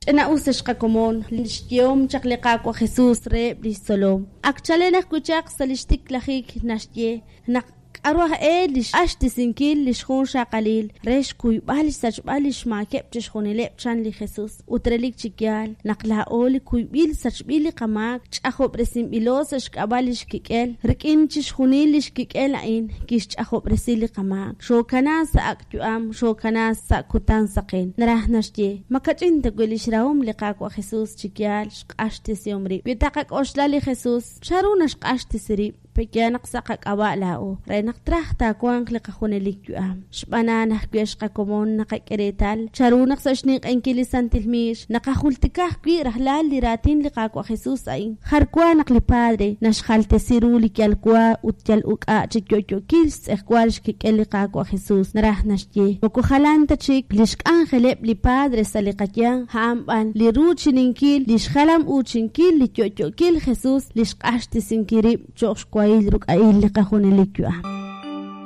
Ch'ina'us ex qakomon li xyehom chaq li Qaawa' Jesus reheb' li xtzolom. Ak chalen ajwi' chaq sa' li xtiklajik naxye naq k'aru aj e li xq'axtesinkil li xjunxaqalil re xkuyb'al xsachb'al li xmaakeb' chixjunileb' chan li Jesus. Ut relik chi yaal naq laa'o li kuyb'il sachb'il li qamaak, ch'ajob'resinb'ilo sa' xk'ab'a' li xkik'el, rik'in chixjunil li xkik'el a'in kixch'ajob'resi li qamaak. Xookana sa' ak' yu'am, xookana sa' kutan saqen. Naraj naxye, ma kach'in ta wi' lix rahom li Qaawa' Jesus chi yaal xq'axtesihom rib'. Wi taqak'oxla li Jesus, chanru naxq'axtesi rib'? Pe'yaal naq sa' qak'ab'a' laa'o, re naq traj taawanq li qajunelik yu'am. Xb'aan a'an ajwi' ex qakomon naqak'e reetal chanru naq sa' xninq'ehinkil li Santil Miix naqajultika ajwi' rajlal li raatin li Qaawa' Jesus a'in, Jar wa naq li Padre naxjaltesi ru li yal wa ut yal uk'a' chi yo'yo'kil xtz'ejwal xkik'el li Qaawa' Jesus, naraj naxye, moko jalan ta chik lix k'anjeleb' li Padre sa' li qayanq, a'an b'an li ruuchininkil, li xjalam-uuchinkil li yo'yo'kil Jesus li xq'axtesinkil rib' cho'q xwahil ruk'a'il li qajunelik yu'am.